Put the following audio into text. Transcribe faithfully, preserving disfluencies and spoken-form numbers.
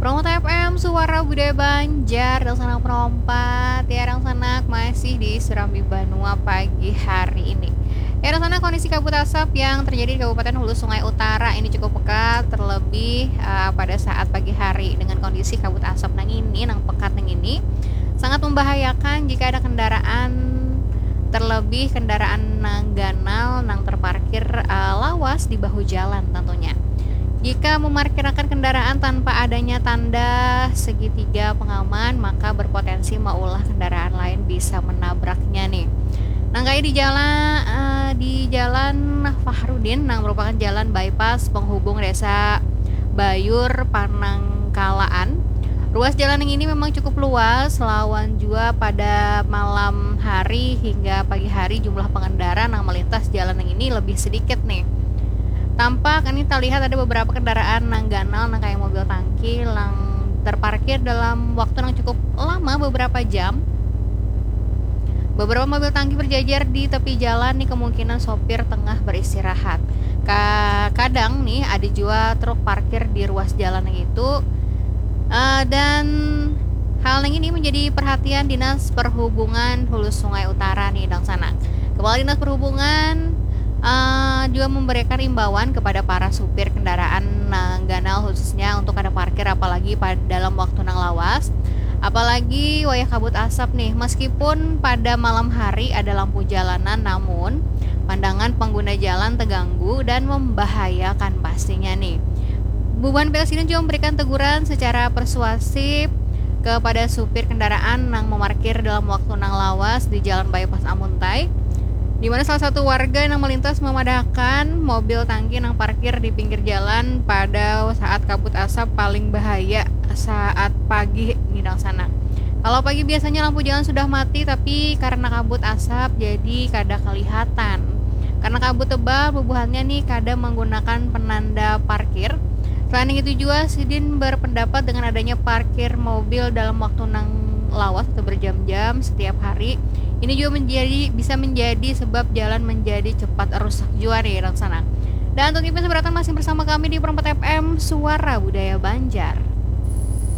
Promo T F M, suara budaya Banjar, dangsanak perompat, ya, dangsanak masih di Serambi Banua pagi hari ini. Ya, dangsanak, kondisi kabut asap yang terjadi di Kabupaten Hulu Sungai Utara ini cukup pekat, terlebih uh, pada saat pagi hari dengan kondisi kabut asap nang ini, nang pekat nang ini, sangat membahayakan jika ada kendaraan, terlebih kendaraan nang ganal nang terparkir uh, lawas di bahu jalan tentunya. Jika memarkirakan kendaraan tanpa adanya tanda segitiga pengaman, maka berpotensi maulah kendaraan lain bisa menabraknya nih. Nang kayak di jalan uh, di Jalan Fahrudin, nang merupakan jalan bypass penghubung Desa Bayur Panangkalaan. Ruas jalan yang ini memang cukup luas, lawan jua pada malam hari hingga pagi hari jumlah pengendara nang melintas jalan yang ini lebih sedikit nih. Tampak ini terlihat ada beberapa kendaraan nang ganal nang kayak mobil tangki nang terparkir dalam waktu yang cukup lama, beberapa jam. Beberapa mobil tangki berjajar di tepi jalan nih, kemungkinan sopir tengah beristirahat. Ka kadang nih ada juga truk parkir di ruas jalan yang itu. Uh, dan hal yang ini menjadi perhatian Dinas Perhubungan Hulu Sungai Utara nih, dangsanak. Kepala Dinas Perhubungan uh, juga memberikan imbauan kepada para supir kendaraan nang ganal, khususnya untuk kada parkir apalagi pada dalam waktu nang lawas, apalagi wayah kabut asap nih. Meskipun pada malam hari ada lampu jalanan, namun pandangan pengguna jalan terganggu dan membahayakan pastinya nih. Bubuhan P L S ini juga memberikan teguran secara persuasif kepada supir kendaraan nang memarkir dalam waktu nang lawas di Jalan Bypass Amuntai, di mana salah satu warga yang melintas memadahkan mobil tangki yang parkir di pinggir jalan pada saat kabut asap paling bahaya saat pagi nih, dangsanak. Kalau pagi biasanya lampu jalan sudah mati, tapi karena kabut asap jadi kada kelihatan. Karena kabut tebal, bubuhannya nih kada menggunakan penanda parkir. Selain itu juga, sidin berpendapat dengan adanya parkir mobil dalam waktu nang lawas atau berjam-jam setiap hari, ini juga menjadi bisa menjadi sebab jalan menjadi cepat rusak jua nih, dangsanak. Dan untuk informasi beratan masih bersama kami di Perempat F M, Suara Budaya Banjar.